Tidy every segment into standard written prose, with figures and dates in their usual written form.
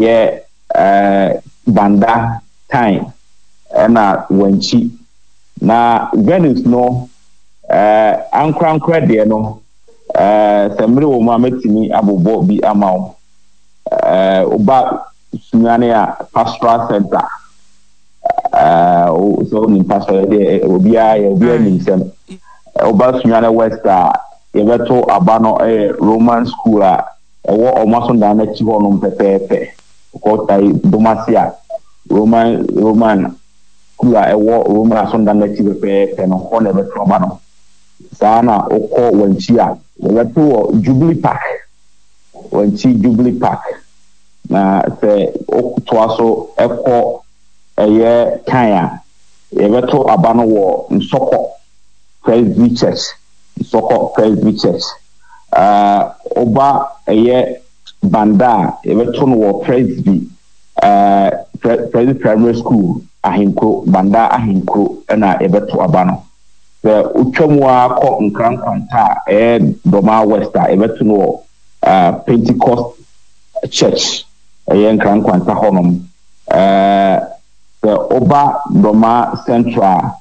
Yɛ eh, Banda, Time ɛna Wankyi. Na Venus no eh, ankorankorɛ deɛ no eh, sɛ mmere wɔ mu a mɛtumi abobɔ bi ama wo. Eh, woba Sunyani a, Pastoral Center, eh, sɛ wonim pastoral deɛ obiara yɛ obiara nim sɛm. Woba Sunyani West a, yɛbɛto aba no yɛ Roman School a Ɛwɔ wɔn asɔrdan no akyi hɔnom pɛpɛɛpɛ. Wokɔ ayi Domase a, Roman Roman kuro a ɛwɔ Roman asɔrdan no akyi pɛpɛɛpɛ no, hɔ na ɛbɛto aba no. Saa na wokɔ Wankyi a, wɔbɛto wɔ Jubilee Park, Wankyi Jubilee Park. Na sɛ wotoa so kɔ ɛyɛ Kan a, yɛbɛto aba no wɔ Nsɔkɔ Presby Church, Nsɔkɔ Presby Church. Eh, woba ɛyɛ Banda a, yɛbɛto no wɔ Presby, eh, Presby Primary School, Ahenkuro, Banda Ahenkuro na yɛbɛto aba no. Sɛ wotwa mu ara kɔ Nkran Nkwanta a, ɛyɛ Dormaa West a, yɛbɛto no wɔ eh, Pentecost Church, ɛyɛ Nkran Nkwanta hɔnom. Eh, sɛ woba Dormaa Central a,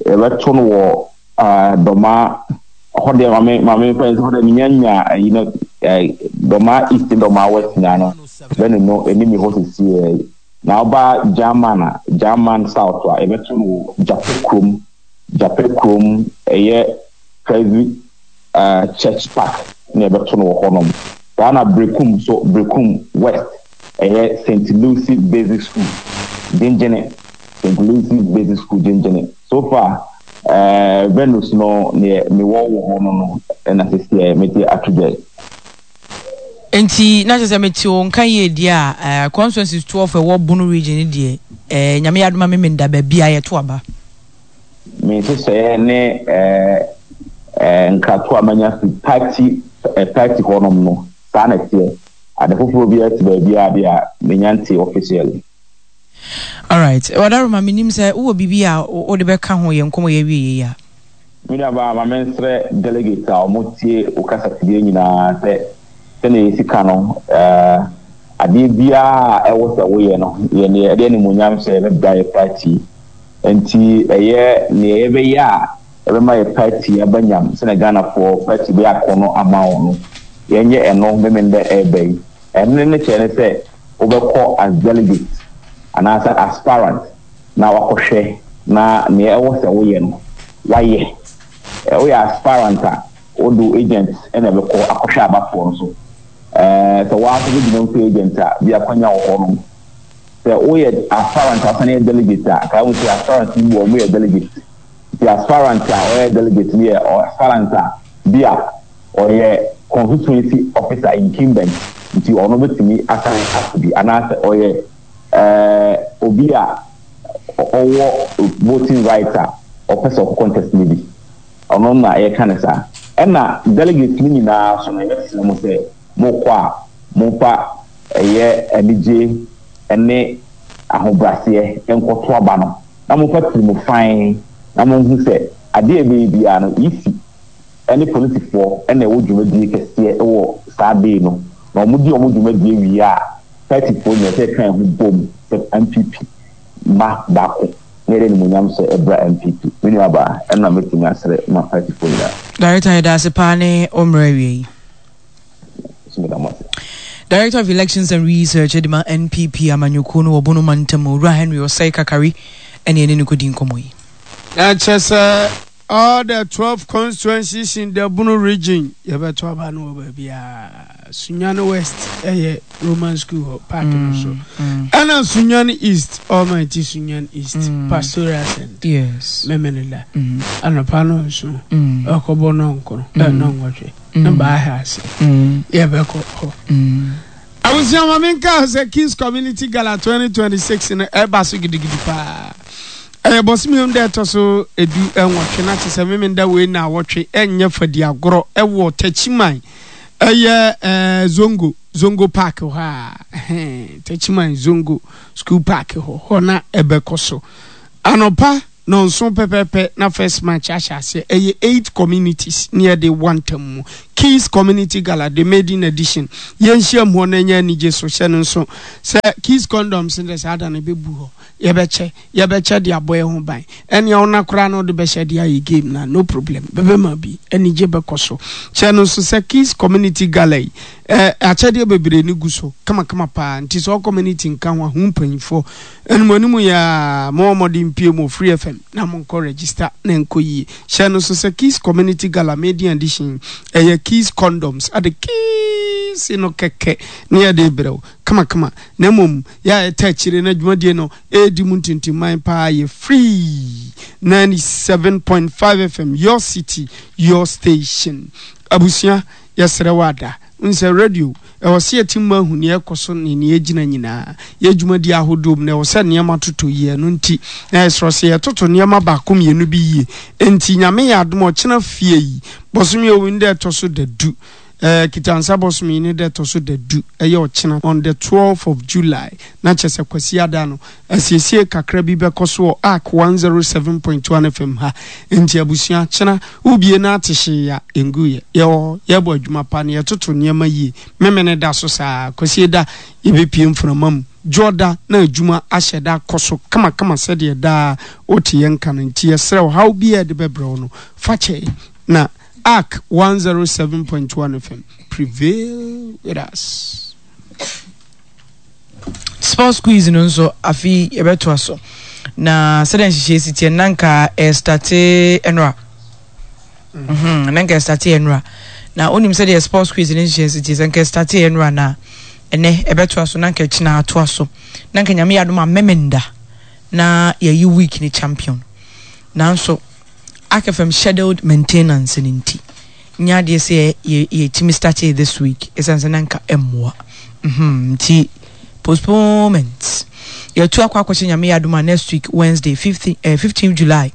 yɛbɛto no wɔ Ah, Dɔmaa, hɔ deɛ maame maame mfa nsi hɔ deɛ menya nya ayi no eh, Dɔmaa East ne Dɔmaa West nyinaa no bɛne no ɛni mi hɔ sisi eh. Na ɔba German a, German South a yɛbɛto no wɔ Gyapɛ kurom, Gyapɛ kurom ɛyɛ Presby uh, Church Park na yɛbɛto no wɔ hɔnom. Saa na Berekum so, Berekum West ɛyɛ St. Lucy Basic School, Gyengyene, St. Lucy Basic School, Gyengyene. So far eh, Venus no neɛ mewɔ wɔ hɔ no no na sesiɛ mede ato dwa yi. Nti na kyerɛ sɛ mete wo nka yie deɛ a eh, constituencies 12 ɛwɔ Bono region no deɛ eh, Nyame yɛ adom a me menda baabi a yɛto aba. Me nhyehyɛeɛ ne eh, eh, nkratoɔ a manya fi party eh, party hɔnom no saa na ɛteɛ. Ade foforɔ biara si baabiara deɛ a menya ntee officially. Alright, Wadaroma, menim sɛ wowɔ biribi a wode bɛka ho yɛn nkɔmmɔ yi awieɛ yi a. Me nuabaa, ma mensrɛ delegates a wɔtie wo kasafidie nyinaa sɛ, sɛdeɛ yɛsi ka no, adeɛ biara a ɛwɔ sɛ woyɛ no, yɛ neɛ ɛde animuonyam hyɛ bɛbra yɛ party. Nti ɛyɛ neɛ yɛbɛyɛ a ɛbɛma yɛ party aba nyam sɛdeɛ Ghanafoɔ party bɛyɛ akɔnnɔ ama wɔn no, yɛnyɛ ɛno Memenda ɛreba yi. Ɛno ne kyerɛ ne sɛ wobɛkɔ as delegate anaasɛ aspirant na wakɔhwɛ na nea ɛwɔ sɛ woyɛ no wayɛ. Woyɛ aspirant a, wode wo agent na ɛbɛkɔ akɔhwɛ abatoɔ no so. Sɛ wo ara nso wobɛgyina mu sɛ agent a, bi akwanya wɔ hɔnom. Sɛ woyɛ aspirant a wosan yɛ delegate a, kae hu sɛ aspirant no bi wɔ hɔ wɔyɛ delegate. Nti aspirant a ɔyɛ delegate no yɛ aspirant a bi a ɔyɛ constituency officer incumbent nti ɔno bɛtumi asan ato bi anaasɛ ɔyɛ eh, obi a ɔwɔ voting right a ɔpɛ sɛ ɔkɔ contest no bi. Ɔno na yɛka no saa. Ɛna delegates no nyinaa so no yɛbɛsrɛ mo sɛ mokɔ a momfa ɛyɛ anigye ne ahobraseɛ nkɔto aba no na momfa tirimu fann na monhu sɛ adeɛ a ɛbɛyɛ biara no EC ne polisifoɔ na ɛwɔ dwumadie kɛseɛ wɔ saa day no, na wɔn di wɔn dwumadie wie a, partyfoɔ nyinaa sɛ yɛka yɛn ho bom sɛ NPP mma baako na yɛde animuonyam hyɛ ɛbra NPP. Me nua baa, ɛno na mɛtumi asrɛ ma partyfoɔ nyinaa. Director yɛda ase paa ne wo mmerɛ awia yi. Nso meda mo ase. Director of Elections and Research de ma NPP amanyɔkuo no wɔ Bono mantam, Owura Henry Osei Kakari ɛne ɛne no kɔdi nkɔmmɔ yi. Na kyerɛ sɛ All the 12 constituencies in the Bono region, yɛbɛto aba no wɔ baabiara. Sunyani West ɛyɛ Roman school hɔ park no so. Ɛna Sunyani East, Almighty Sunyani East, Pastoral Center. Yes. Memene da. Anɔpa no nso, ɛkɔbɔ nɔnkono, nɔnwɔtwe, ne baa ha ase. Yɛbɛkɔ hɔ. Abusua ma menka sɛ Kings Community Gala 2026 no ɛba so gidigidi paa. Ɛyɛ bɔsome da ɛtɔ so 18 na kyerɛ sɛ Memenda wei naawɔtwe ɛnyɛ fadi agorɔ ɛwɔ Takyiman ɛyɛ ɛɛ Zongo Zongo Park hɔ a ɛhɛn Takyiman Zongo School Park hɔ hɔ na ɛbɛkɔ so anɔpa nɔnson pɛpɛpɛ na first match ahyɛ aseɛ ɛyɛ eight communities ne yɛde wɔ ntam mu. Keys Community Gala, The Maiden Edition. Yɛnhyiam hɔ na ɛnyɛ anigye so. Hyɛ no nso sɛ Keys Condoms no deɛ saa da no ɛbɛbu hɔ. Yɛbɛkyɛ, yɛbɛkyɛ de abɔ yɛn ho ban. Ɛnea ɔna koraa na ɔde bɛhyɛ de ayɛ game no a, no problem. Bɛbɛma bi. Anigye bɛkɔ so. Kyɛ no nso sɛ Keys Community Gala yi, eh, akyɛdeɛ bebree no gu so kamakama paa. Nti sɛ wo community nka ho a, hu mpanyinfoɔ. Animuanimu yi ara, mommɔ mmɔden mpue mu wɔ Free FM na monkɔ register na ɛnkɔ yie. Hyɛ no nso sɛ Keys Community Gala Maiden Edition yi, ɛyɛ Keys Condoms, ade keys no kɛkɛ na yɛde rebrɛ wo kamakama. Na mmom, yɛ a ɛta akyire na dwumadie no ɛredi mu ntintimman paa yɛ Free 97.5 FM, your city, your station. Abusua, yɛsrɛ wo ada. Wohu sɛ radio, ɛwɔ sɛ yɛte mu ahu nea ɛrekɔ so ne nea egyina nyinaa. Yɛ dwumadi ahodoɔ mu no, ɛwɔ sɛ nneɛma totɔ yie. Ɛno nti, na yɛsrɛ sɛ yɛtoto nneɛma baako mmienu bi yie. Enti, Nyame yɛ adom a, ɔkyena fie yi, bɔsome a ɛwɔ mu yi ne da ɛtɔ so da du, ɛɛ, Kitansa bɔsome yi ne da ɛtɔ so da du, ɛyɛ ɔkyena, on the twelfth of July, na kyerɛ sɛ Kwasiada no, Asiesie kakra bi bɛkɔ so wɔ Ark 107.1 FM ha. Enti abusua, kyena wobie na ate hyee a, ɛnguiɛ. Yɛwɔ hɔ, yɛbɔ adwuma pa na yɛtoto nneɛma yie. Memene da so saa ara. Kwasieda yɛbɛpue mframa mu. Dwoɔda na adwuma ahyɛ da akɔ so kamakama sɛdeɛ daa wote yɛn nka no. Enti yɛsrɛ wo, haw biara a yɛde bɛbrɛ wo no, fa kyɛ yɛn. Na Ark 107.1 FM, prevail with us. Sports quiz no nso afe yi yɛbɛtoa so na sɛdeɛ nhyehyɛe si teɛ na nka ɛstate ɛnora mhm, na nka ɛstate ɛnora na wonim sɛdeɛ sports quiz no nhyehyɛe si teɛ sɛ nka ɛstate ɛnora na ɛnɛ ɛbɛtoa so na nka ɛkyena atoa so na nka nyame yɛ adom a memenda na yɛyi week ne champion nanso akfm scheduled maintenance no nti nyɛ adeɛ sɛ yɛ yɛtumi startee this week ɛsiane sɛ na nka ɛmmoa mhm nti postponement yɛtu akɔ akɔhyɛ nyame yɛ adom a next week Wednesday 15 eh, 15 July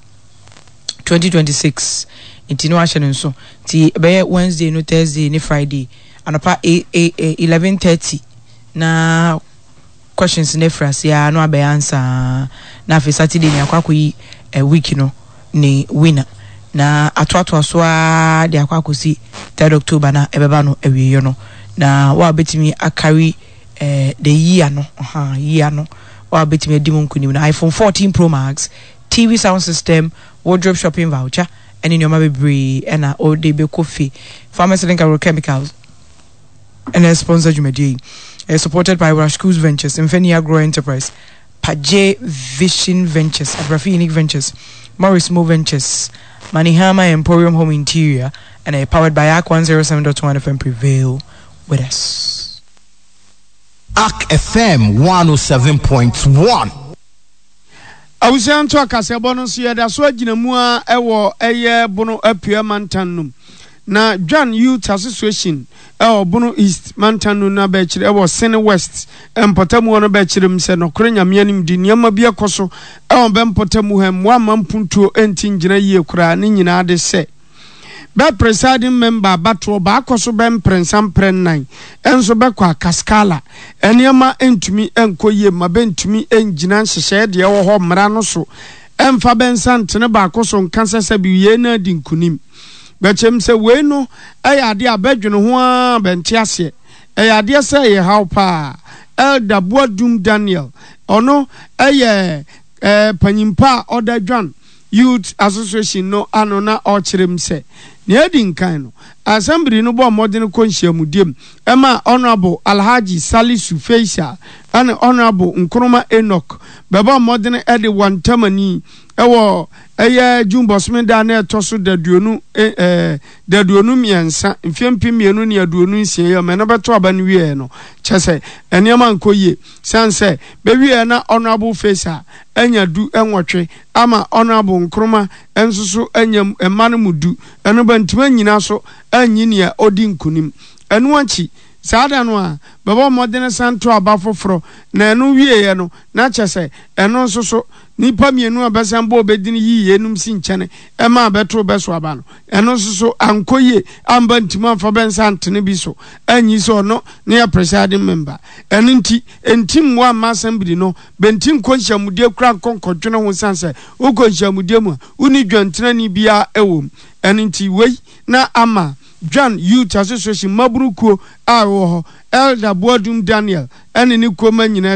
2026 nti na wahyɛ no nso nti ɛbɛyɛ Wednesday no Thursday ne Friday anɔpa 11:30 na questions no afiri ase ara na wabɛyɛ ansa na afei Saturday ni akɔ akɔyi eh, week no ne winner na atoatoa so ara de akɔ akɔsi third October na ɛbɛba no awieeɛ no na wa bɛtumi akari eh, the year no uh, year no wa bɛtumi adi mu nkunim no iPhone 14 Pro Max TV sound system wardrobe shopping voucher ɛne nneɛma bebree ɛna ɔde bɛkɔ fie Pharmacy Link Agrochemicals ɛna ɛsponsor dwumadie yi. Ɛyɛ supported by Rashkus Ventures, Mfani Agro Enterprise, Paje Vision Ventures, Abrafi Unique Ventures, Morris Mo Ventures, Manihama Emporium Home Interior, ɛna ɛyɛ powered by Ark 107.1 FM Prevail with us. Ark FM 107.1. Abusua nto akaseɛbɔ no nso yɛda so agyina mu ara wɔ ɛyɛ Bono Apueɛ mantam no mu. Na Dwan Youth Association wɔ Bono East mantam no na bɛkyerɛ wɔ Sene West mpɔtamu hɔ no bɛkyerɛ mu sɛ nɔkorɛ Nyame anim de nneɛma bi ɛkɔ so wɔ bɛ mpɔtamu ha mmoa mma mpuntuo nti ngyina yie koraa ne nyinaa de sɛ bɛ presiding member abatoɔ baakɔ so bɛ mprɛnsa mprɛ nnan nso bɛkɔ a Kaskala nneɛma ntumi nkɔ yie ma bɛntumi ngyina nhyehyɛɛ deɛ ɛwɔ hɔ mmara no so mfa bɛ nsa ntene baako so nka sɛ sɛbi yei na adi nkunim. Bɛkyɛm sɛ wei no yɛ adeɛ a bɛdwene ho ara bɛnte aseɛ. Ɛyɛ adeɛ sɛ ɛyɛ haw paa. Elder Boadum Daniel, ɔno yɛ panyimpa a ɔda Dwan Youth Association no ano na ɔrekyerɛ mu sɛ, nea edi nkan no, Assembly no bɔɔ mmɔden kɔ nhyiamudie mu maa Honourable Alhaji Salisu Faisal ne Honourable Nkrumah Enoch bɛbɔɔ mmɔden de wɔn ntamani wɔ ɛyɛ June bɔsome da a na ɛtɔ so daduonu eh, daduonu mmiɛnsa, mfeɛ 2026 yi a mɛ no bɛto aba no wieɛ no, kyɛ sɛ nneɛma nkɔ yie. Sane sɛ bɛwieɛ na Honourable Faisal anya du nwɔtwe ama Honourable Nkrumah nso so anya mma no mu du, ɛno bɛntumi annyina so anyi nea ɔdi nkunim. Ɛno akyi, saa da no a, bɛbɔ mmɔdene san to aba foforɔ, na ɛno wieɛ no, na kyɛ sɛ ɛno nso so, nnipa mmienu a bɛsan bɔɔ bɛ dini yii yeinom si nkyɛne maa bɛtoo bɛ so aba no, ɛno nso so ankɔ yie, amba ntimi amfa bɛ nsa antene bi so anyi sɛ ɔno ne yɛ presiding member. Ɛno nti, ɛnti mmoa mma assembly no bɛnti nkɔ nhyiamudie koraa nkɔ nkɔdwene ho sane sɛ wokɔ nhyiamudie mu a wonni dwantenani biara wɔ mu. Ɛno nti, wei na ama. Dwan Youth Association mmabunu kuo a ɛwɔ hɔ, Elder Boadum Daniel ne ne kuo mma nyinaa.